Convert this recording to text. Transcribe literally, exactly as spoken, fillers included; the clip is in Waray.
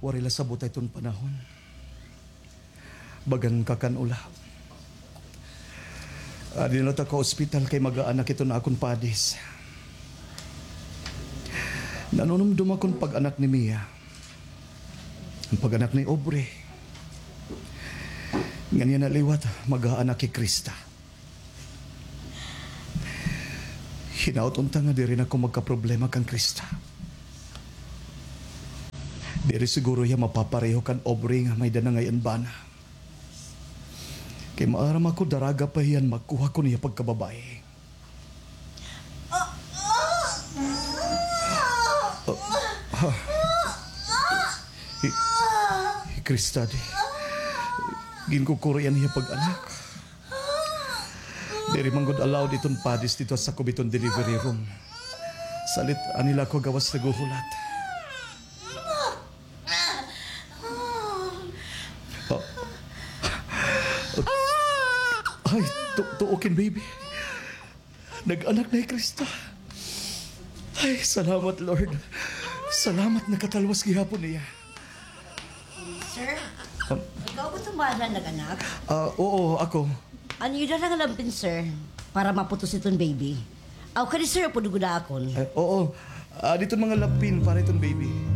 Waray la sabot iton panahon. Bagan kakan-o la. Adi na la ta ka ospital kay mag-aanak iton akon padis. Nanunumdom akon pag-anak ni Mia. An pag-anak ni Aubrey. Ngan yana liwat, mag-aanak hi Krista. Hinaot unta nga diri na ako magkaproblema kan Krista. Diri siguro hiya mapapareho kan Aubrey nga may-ada na ngay-an bana. Kay maaram ako, daraga pa hiya han magkuha kon iya pagkababaye. Ah, ah. Hi, hi Krista, di. Ginkukuri an iya pag-anak. Diri man gud allowed iton padis didto ha sakob hiton delivery room. Salit, anhi la ako gawas naghuhulat. Oh. Ay, tu-, tuo kin, baby. Nag-anak na hi Krista. Ay, salamat, Lord. Salamat, nakatalwas gihapon hiya. Sir, ikaw ba iton bana nga nag-anak? Ah, oo, ako. Ano, ida na nga lampin, sir, para maputos iton baby? Aw, kadi, sir, pwede gud akon. Eh, oo. Ah, didto mga lampin para iton baby.